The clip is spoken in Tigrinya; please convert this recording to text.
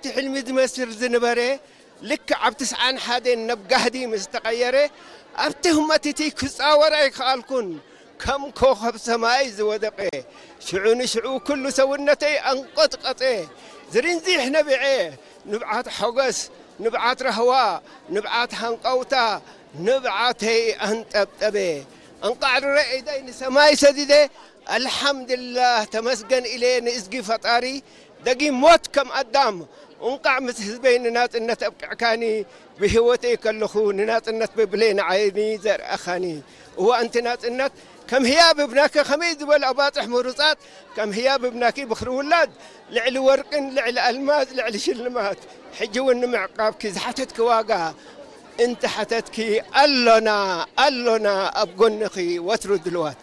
እቲ ሕልሚ ዝመስል ዝነበረ ልክዕ ኣብ ትስዓን ሓደን ናብ ጋህዲ ምስ ተቐየረ፣ ኣብቲ ህመትቲ ክጻወር ኣይከኣልኩን። ከም ኮኸብ ሰማይ ዝወደቐ፣ ሽዑ ንሽዑ ኩሉ ሰውነተይ ኣንቆጥቀጠ። ዝርንዚሕ ነቢዐ። ንብዓት ሓጎስ፣ ንብዓት ራህዋ፣ ንብዓት ሃንቀውታ፣ ንብዓተይ ኣንጠብጠበ። ኣንቃዕሪረ ኢደይ ንሰማይ ሰዲደ፣ ኣልሓምድላህ ተመስገን ኢለ ንእዝጊ ፈጣሪ። ደጊም ሞት ከም ኣዳም፣ እንቃዕ ምስ ህዝበይ ንናጽነት ኣብቅዕካኒ። ብህይወተይ ከለኹ ንናጽነት ብብሌን ዓይኒ ዘርኣኻኒ። እዋ ኣንቲ ናጽነት፣ ከም ህያብ እብናኪ ከመይ ዝበሉ ኣባጽሕ ምሩጻት፣ ከም ህያብ እብናኪ ብኽሪ ውላድ፣ ልዕሊ ወርቅን ልዕሊ ኣልማዝ ልዕሊ ሽልማት። ሕጂ እውን ንምዕቃብኪ ዝሓተትኪ ዋጋ እንተ ሓተትኪ፣ ኣሎና፣ ኣሎና ኣብ ጎንኺ ወትሩ ድልዋት።